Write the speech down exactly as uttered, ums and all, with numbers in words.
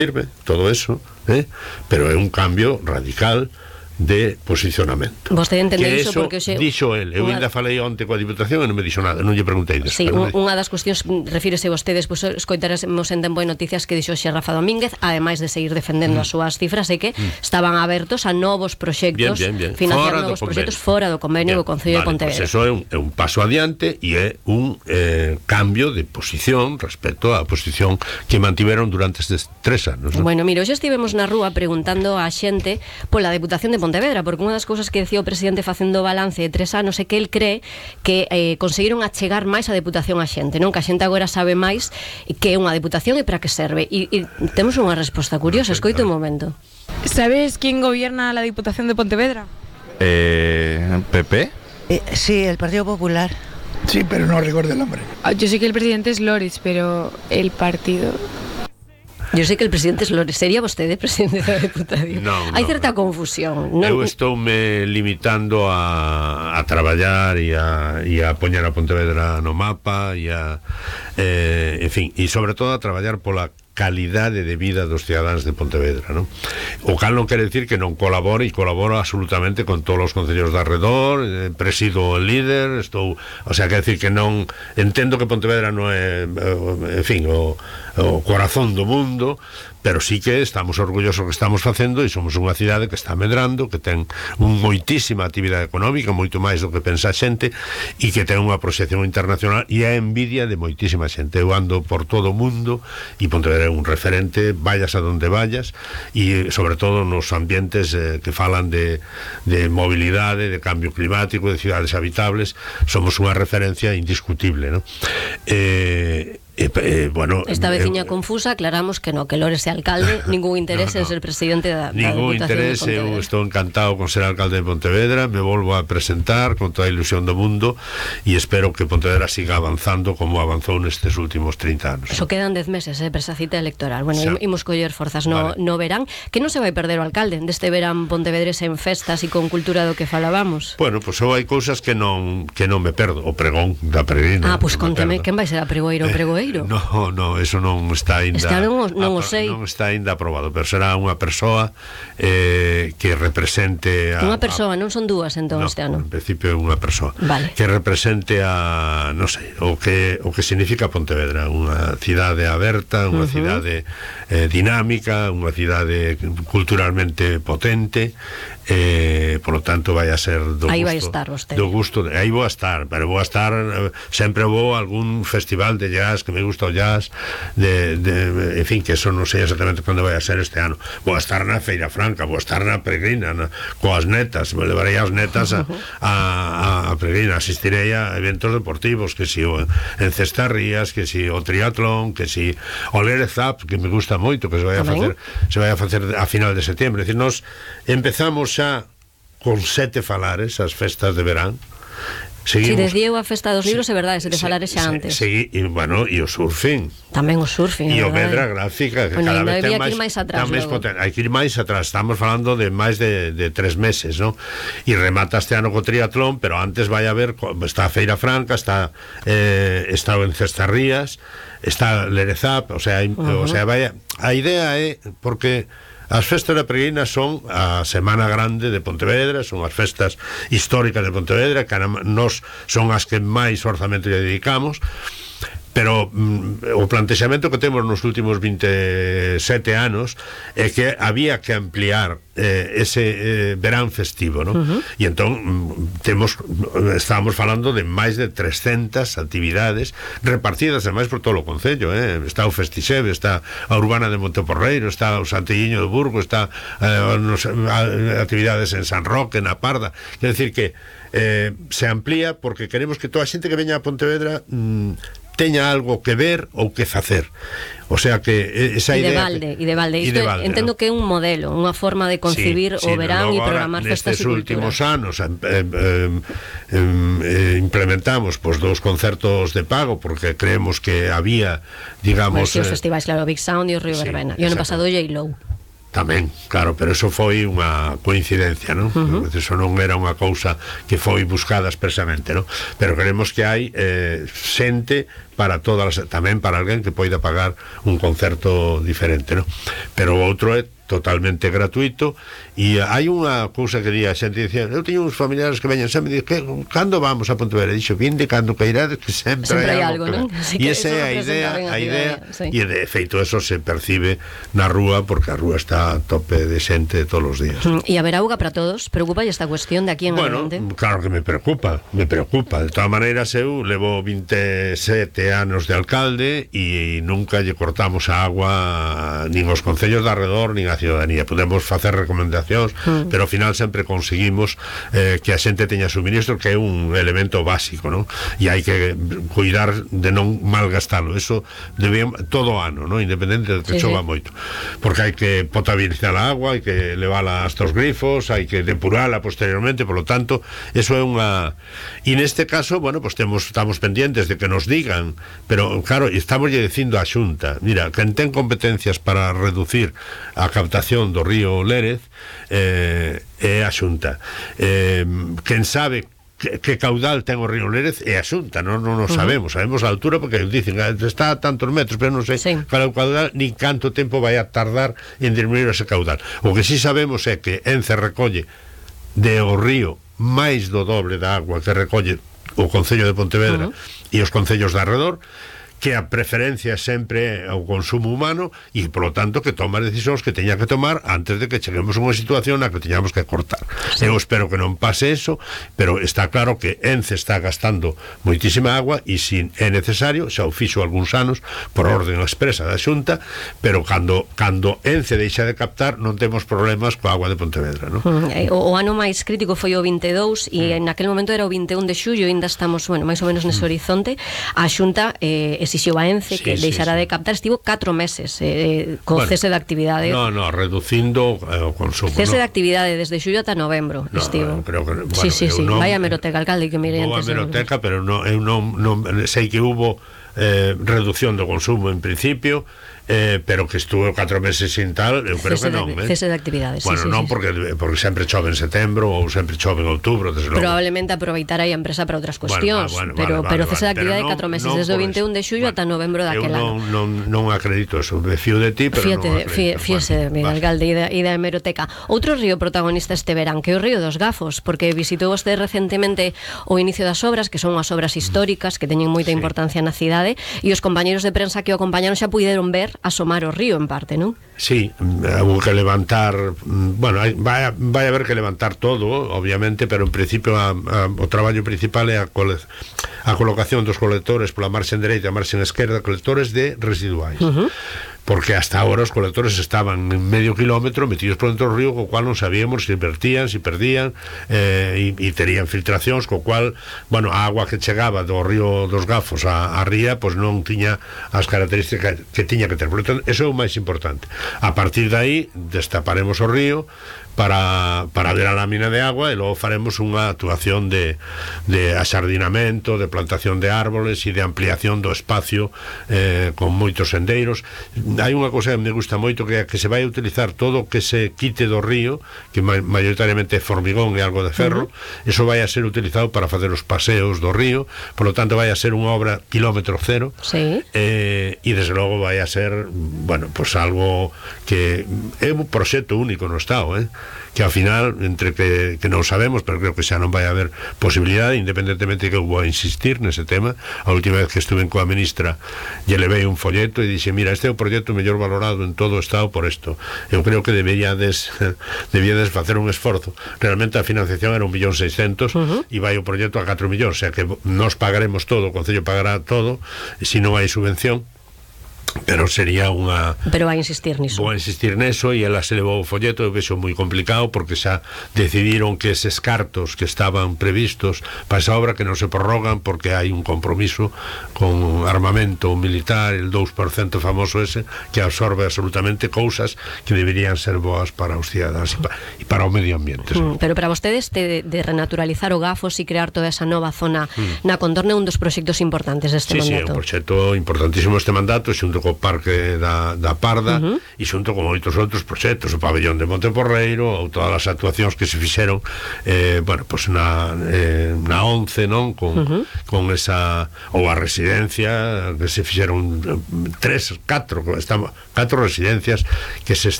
sirve todo eso, eh? Pero é un cambio radical de posicionamento. Vostede entende que iso eso porque xe, dixo el, eu unha... ainda falei onte coa Diputación e non me dixo nada, non lle preguntei despois. Sí, un, unha das cuestións, refírese vostedes, pois pues, escoitaremos en Tempo de Noticias que dixo xe Rafa Domínguez, ademais de seguir defendendo mm. as súas cifras, e que mm. estaban abertos a novos proxectos, bien, bien, bien. financiar fora novos proxectos fora do convenio do Concello vale, de Pontevedra. Pues eso é un, é un paso adiante e é un eh, cambio de posición respecto á posición que mantiveron durante estes tres anos, ¿no? Bueno, mira, hoxe estivemos na rúa preguntando á xente pola Deputación de Pontevedra, porque unha das cousas que decía o presidente facendo balance de tres anos é que el cree que eh, conseguiron achegar máis a Deputación á xente, non? Que a xente agora sabe máis que é unha Deputación e para que serve. E, e temos unha resposta curiosa, escoito un momento. ¿Sabes quién gobierna la Diputación de Pontevedra? Eh, ¿P P? Eh, sí, el Partido Popular. Sí, pero no recuerdo el nombre. Yo sé que el presidente es Loris, pero el partido... Yo sei que el presidente es Loris. Sería vostede presidente da Deputación? Non, Hai non, certa non. confusión. Non... Eu estou me limitando a, a traballar e a, e a poñer a Pontevedra no mapa e a, eh, en fin, e sobre todo a traballar pola calidade de vida dos cidadáns de Pontevedra, non? O cal non quere decir que non colabore, e colaboro absolutamente con todos os concellos de arredor, eh, presido o líder, estou, o sea, quer decir que non entendo que Pontevedra non é, en fin, o, o corazón do mundo, pero sí que estamos orgullosos que estamos facendo e somos unha cidade que está medrando, que ten un moitísima actividade económica, moito máis do que pensa a xente, e que ten unha proxección internacional e a envidia de moitísima xente. Eu ando por todo o mundo e Pontevedra é un referente, vayas a donde vayas, e sobre todo nos ambientes eh, que falan de, de mobilidade, de cambio climático, de cidades habitables, somos unha referencia indiscutible, ¿no? Eh, Eh, eh, bueno, esta veciña eh, confusa, aclaramos que no, que Lores é alcalde, ningún interés no, no. en ser presidente da, da ningún Deputación interés, de Pontevedra. Eu estou encantado con ser alcalde de Pontevedra, me volvo a presentar con toda a ilusión do mundo e espero que Pontevedra siga avanzando como avanzou nestes últimos trinta anos. Eso quedan dez meses, eh, para esa cita electoral. Bueno, xa. imos coller forzas no, vale. no verán, que non se vai perder o alcalde deste verán pontevedrese en festas e con cultura do que falábamos. Bueno, pois pues, hai cousas que non que non me perdo, o pregón da peregrina. Ah, pois pues, no conteme, quen vai ser a pregoeiro ou pregoeiro? Eh, no, no, eso non está ainda Está non, non o sei. Non está ainda aprobado, pero será unha persoa eh, que represente a, unha persoa, a, non son dúas entón no, este ano. En principio é unha persoa vale. que represente a, non sei, o que o que significa Pontevedra, unha cidade aberta, unha uh-huh. cidade eh, dinámica, unha cidade culturalmente potente. Eh, por lo tanto vai a ser do aí gusto, vai estar vostede. Do gusto, aí vou a estar, pero vou a estar eh, sempre vou a algún festival de jazz que me gusta o jazz de, de, en fin, que eso non sei exactamente cando vai a ser este ano. Vou a estar na Feira Franca, vou a estar na Peregrina, na, coas netas, me levarei as netas a, a, a Peregrina, asistirei a eventos deportivos, que si o en Cestarrías, que si o triatlón, que si o Lérez Up, que me gusta moito, que se vai a facer se vai a facer a final de setembro. É dicir, nos empezamos xa con sete falares as festas de verán. Si desde eu a festa dos libros, é verdade, sete se, falares xa antes. Sí, e, bueno, e o surfing. Tamén o surfing, e o Vedra Gráfica, que bueno, cada vez ten máis, máis atrás, máis potente. Hai que ir máis atrás, estamos falando de máis de, de tres meses, ¿no? E remata este ano co triatlón, pero antes vai a haber, está a Feira Franca, está eh, está en Cestarrías, está Lerezap, o sea, uh-huh. o sea, vaya, a idea é porque as festas da Peregrina son a Semana Grande de Pontevedra, son as festas históricas de Pontevedra, que nos son as que máis orzamento lle dedicamos, pero mm, o plantexamento que temos nos últimos veintesete anos é que había que ampliar eh, ese eh, verán festivo, ¿no? Uh-huh. E entón mm, temos estábamos falando de máis de trescentas actividades repartidas ademais por todo o concello, eh? Está o Festixeve, está a Urbana de Monteporreiro, está o Santelliño de Burgo, está eh, nos, a, actividades en San Roque, na Parda. Quer decir que eh, se amplía porque queremos que toda a xente que veña a Pontevedra mm, teña algo que ver ou que facer. O sea que esa e de idea balde, e de balde. Isto entendo, ¿no?, que é un modelo, unha forma de concebir sí, o sí, verán e programar festas e cultura. Nestes últimos anos eh, eh, eh, implementamos pues, dous concertos de pago porque creemos que había, digamos... Pues, sí, os festivais, claro, Big Sound e o Río sí, Verbena. E o ano pasado J-Lo. Tamén, claro, pero eso foi unha coincidencia, non? Uh-huh. Eso non era unha cousa que foi buscada expresamente, non? Pero creemos que hai eh, xente para todas as, tamén para alguén que poida pagar un concerto diferente, ¿no? Pero o outro é totalmente gratuito. E hai unha cousa que di a xente, dicía, eu teño uns familiares que veñen sempre e dicen, cando vamos a Pontevedra? E dixo, vinde cando cairades, que sempre, sempre hai algo, algo, non? E esa é a idea, a idea, e de feito eso se percibe na rúa, porque a rúa está a tope de xente todos os días. E haber auga para todos, preocupa esta cuestión de aquí en bueno, adelante? Claro que me preocupa, me preocupa. De todas maneiras, eu levo vinte e sete anos de alcalde e nunca lle cortamos a agua nin os concellos de arredor, nin a ciudadanía. Podemos facer recomendacións, mm. pero ao final sempre conseguimos eh, que a xente teña suministro, que é un elemento básico, non? E hai que cuidar de non malgastalo. Eso debemos todo o ano, non? Independente de que sí, chova sí. moito. Porque hai que potabilizar a agua, hai que levala hasta os grifos, hai que depurala posteriormente, por lo tanto, eso é unha... E neste caso, bueno, pues temos, estamos pendientes de que nos digan, pero claro, estamos lle dicindo á Xunta, mira, quen ten competencias para reducir a captación do río Lérez eh, é a Xunta. Eh, quen sabe que, que caudal ten o río Lérez é a Xunta, non, non o sabemos, uh -huh. sabemos a altura porque dicen está a tantos metros, pero non sei sí. cal é o caudal ni canto tempo vai a tardar en disminuir ese caudal. O que sí sabemos é que Ence recolle de o río máis do doble da agua que recolle o Concello de Pontevedra uh -huh. e os concellos de arredor, que a preferencia sempre ao consumo humano e, polo tanto, que toma decisións que teña que tomar antes de que cheguemos a unha situación na que teñamos que cortar. Sí. Eu espero que non pase eso, pero está claro que Ence está gastando moitísima agua e se é necesario, xa o fixo algúns anos por orden expresa da Xunta, pero cando, cando Ence deixa de captar non temos problemas coa agua de Pontevedra, non? Mm, o, o ano máis crítico foi o vinte e dous e mm. en aquel momento era o vinte e un de xullo e ainda estamos, bueno, máis ou menos nese mm. horizonte. A Xunta eh, exixeu a Ence sí, que sí, deixará sí. de captar, estivo catro meses eh, co bueno, cese de actividade. No, no, reducindo eh, o consumo. Cese no. de actividade desde xullo ata novembro, no, estivo. Creo que, bueno, sí, sí, sí. Non, vai a meroteca, alcalde, que mire antes. Vou a meroteca, de... pero no, eu non, non sei que hubo eh, reducción do consumo en principio, eh, pero que estuvo catro meses sin tal, eu creo cese que non, de, eh? cese de actividades. Bueno, sí, non sí, porque, porque sempre chove en setembro ou sempre chove en outubro, desde logo. Probablemente aproveitar aí a empresa para outras cuestións, bueno, bueno, pero, vale, pero vale, cese de actividade no, catro meses, non desde o vinte e un de xullo bueno, ata novembro daquel ano. Eu non, non, non acredito eso, me fío de ti, pero Fíate, non acredito. Fíese de mí, alcalde, e da, e da hemeroteca. Outro río protagonista este verán, que é o río dos Gafos, porque visitou vostede recentemente o inicio das obras, que son as obras históricas, que teñen moita sí. importancia na cidade, e os compañeros de prensa que o acompañaron xa puideron ver asomar o río en parte, non? Sí, hubo que levantar, bueno, vai a, vai a haber que levantar todo, obviamente, pero en principio a, a, o traballo principal é a, cole, a colocación dos colectores pola marxen dereita e a marxen esquerda, colectores de residuais. Uh -huh. Porque hasta ahora os colectores estaban en medio kilómetro metidos por dentro do río, co cual non sabíamos se vertían, se perdían, eh, e, e terían filtracións, co cual, bueno, a agua que chegaba do río dos Gafos a, a ría, pois non tiña as características que tiña que ter. Por lo tanto, eso é o máis importante. A partir de aí, destaparemos o río para, para ver a lámina de agua e logo faremos unha actuación de, de axardinamento, de plantación de árboles e de ampliación do espacio eh, con moitos sendeiros. Hai unha cousa que me gusta moito, que é que se vai a utilizar todo o que se quite do río, que maioritariamente é formigón e algo de ferro. Uh-huh. Eso vai a ser utilizado para facer os paseos do río, por lo tanto vai a ser unha obra kilómetro cero. Sí. eh, e desde logo vai a ser, bueno, pues algo que é un proxecto único no Estado, eh? que ao final, entre que, que non sabemos, pero creo que xa non vai haber posibilidade, independentemente de que eu vou a insistir nese tema. A última vez que estuve coa ministra lle levei un folleto e dixe, mira, este é o proxecto mellor valorado en todo o Estado por isto. Eu creo que deberíades debíades facer un esforzo. Realmente a financiación era un millón seiscentos uh-huh. e vai o proxecto a catro millóns, o sea que nos pagaremos todo, o Concello pagará todo, se non hai subvención. Pero sería unha... Pero vai insistir niso. Vou insistir neso e ela se levou o folleto, eu vexo moi complicado porque xa decidiron que eses cartos que estaban previstos para esa obra que non se prorrogan porque hai un compromiso con armamento militar, el dous por cento famoso ese, que absorbe absolutamente cousas que deberían ser boas para os cidadanos e para, e para o medio ambiente. Mm, pero para vostedes de, de renaturalizar o Gafos e crear toda esa nova zona mm. na contorna é un dos proxectos importantes deste sí, mandato. Sí, é un proxecto importantísimo este mandato, xunto xunto co Parque da, da Parda uh -huh. e xunto con moitos outros proxectos, o pabellón de Monteporreiro ou todas as actuacións que se fixeron eh, bueno, pues na, eh, na once, non? Con, uh -huh. con esa, ou a residencia que se fixeron tres, catro, estamos, catro residencias que se